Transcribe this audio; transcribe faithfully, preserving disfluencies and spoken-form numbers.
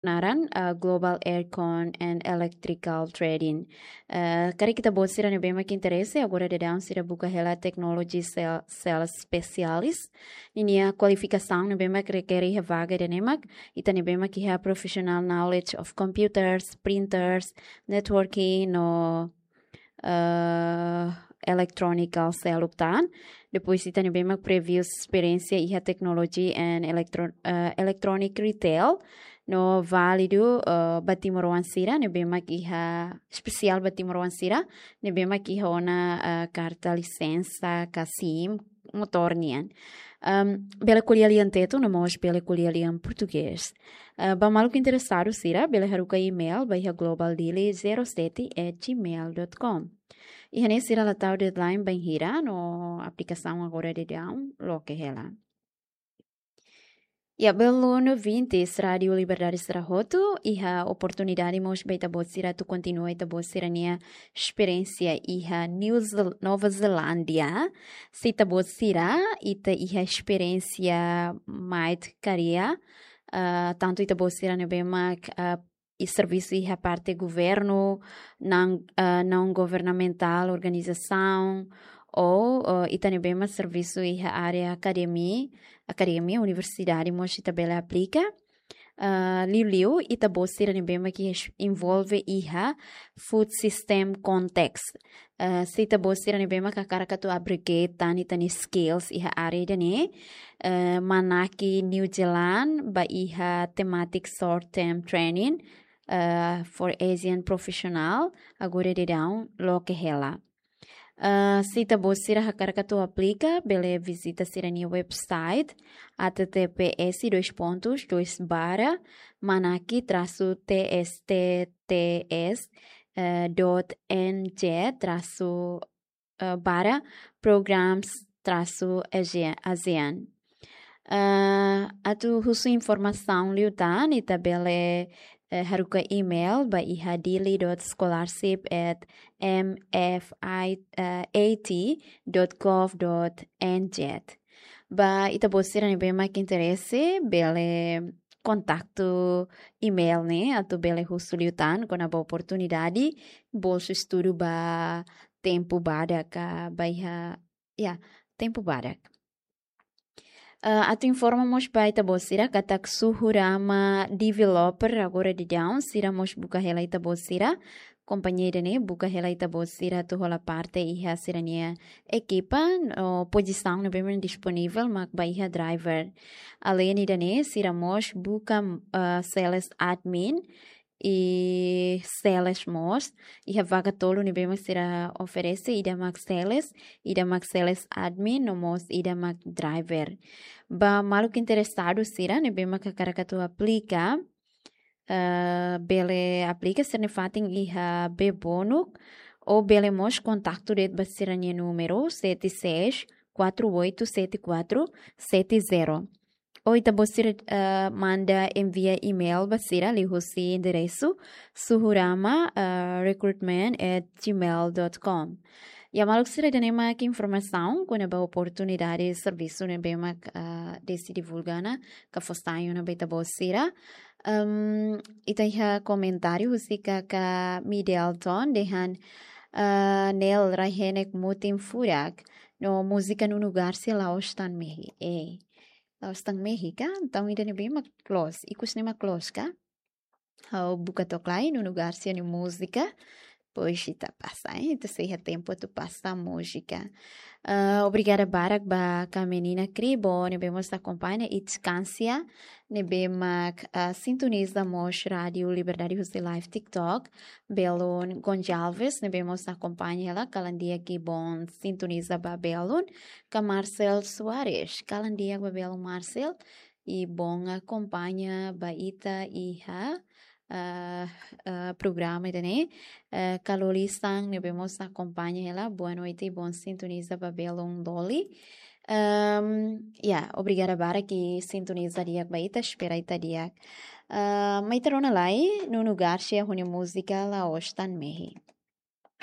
naran, ah, Global Aircon and Electrical Trading. Ah, karik ita-boot sira ne'ebé mak interese, agora daudaun sira buka hela technology sale-, sales specialist. Ninia kualifikasaun ne'ebé mak rekere iha vaga ida-ne'e mak, ita ne'ebé mak iha professional knowledge of computers, printers, networking, no eh, electronical seluk tan. Depois ita ne'ebé mak previous experience iha technology and electro-, eh, electronic retail. No válidu, eh, ba timoroan sira ne'ebé mak iha, espesiál ba timoroan sira ne'ebé mak iha ona, eh, karta lisensa ka SIM motór nian. Ehm, bele ko'alia lian Tetun, no mós bele ko'alia lian Portugés. Eh, ba maluk interesadu sira, bele haruka email ba iha globaldili zero sete at gmail dot com. Iha ne'e sira la tau deadline bainhira, no aplikasaun agora daudaun loke hela. Ya, belun ouvintes Rádio Liberdade sira hotu, iha oportunidade mós ba ita-boot sira atu kontinua ita-boot sira-nia esperiénsia iha New Zel-, Nova Zelándia. Se ita-boot sira, ita iha esperiénsia mate karia, ah, tantu ita-boot sira ne'ebé mak, ah, i servisu iha parte governu, não, ah, não governamental organizasaun, ou, ah, ita ne'ebé mak servisu iha área akademia, akademia, universidade, mós ita bele aplika. Ah, liuliu, ita-boot sira ne'ebé mak envolve iha food system context. Ah, se ita-boot sira ne'ebé mak hakarak atu upgrade tan ita-nia skills iha área ida-ne'e, eh, manaki New Zealand ba iha thematic short term training, eh, for Asian professional, agora daudaun loke hela. Eh, se ita-boot sira hakarak atu aplika, bele vizita sira-nia website, H T T P S dois pontos, dois barra, manaki traço T S T T S, eh, dot N J traço, eh, barra programs traço ASEAN. Eh, atu husu informasaun liután, ita bele, eh, haruka email ba iha dili dot scholarship at M F I A T dot gov dot N Z. Ba ita-boot sira ne'ebé mak interese, bele kontaktu email ne'e, atu bele husu liután kona-ba oportunidade bolsu estudu ba tempu badak ka ba iha, ya, tempu badak. Eh, atu informa mós ba ita-boot sira katak Suhurama Developer agora daudaun sira mós buka hela ita-boot sira, kompañia ida-ne'e buka hela ita-boot sira atu hola parte iha sira-nia ekipa, no pozisaun ne'ebé mak disponivel mak ba iha driver. Além ida-ne'e, sira mós buka, eh, sales admin i sales mós. Iha vaga tolu ne'ebé mak sira oferese, ida mak sales, ida mak sales admin, no mós ida mak driver. Ba maluk interesadu sira ne'ebé mak hakarak atu aplika, eh, bele aplika sira-nia fatin iha Bebonuk, ou bele mós kontaktu de'it ba sira-nia númeru sete seis quatro oito sete quatro sete zero. Ou ita-boot sira, eh, manda envia email ba sira liuhusi enderesu suhurama, eh, recruitment at gmail dot com. Ya maluk sira, ida-ne'e mak informasaun kona-ba oportunidade servisu ne'ebé mak, eh, deside divulga ona ka fó sai ona ba ita-boot sira. Em, ita iha komentáriu husi kaka Midelton dehan, eh, Nel rai-henek mutin furak no múzika Nuno Garcia la'ós tan mehi. Eh, la'ós tan mehi ka? Entaun ida-ne'ebé mak close. Ikus ne'e mak close ka? Ha'u buka to'ok lai Nuno Garcia nia múzika. Depois ita pasa, eh, ita sei iha tempu atu pasa múzika. Ah, obrigada barak ba kaka menina Kribo ne'ebé mós akompaña, i Skansia ne'ebé mak, ah, sintoniza mós Rádio Liberdade husi live TikTok. Belun Gonçalves ne'ebé mós akompaña hela, kalan di'ak i bon sintoniza ba belun. Ka Marcel Soares, kalan di'ak ba belun Marcel, i bon akompaña ba ita iha, ah, ah, programa ida-ne'e. Eh, ka Loli Sang ne'ebé mós akompaña hela, boa noite i bon sintoniza ba belun Loli. Em, ya, obrigada barak i sintoniza di'ak ba ita, espera ita di'ak. Ah, mai ita rona lai Nuno Garcia ho nia múzika la'ós tan mehi.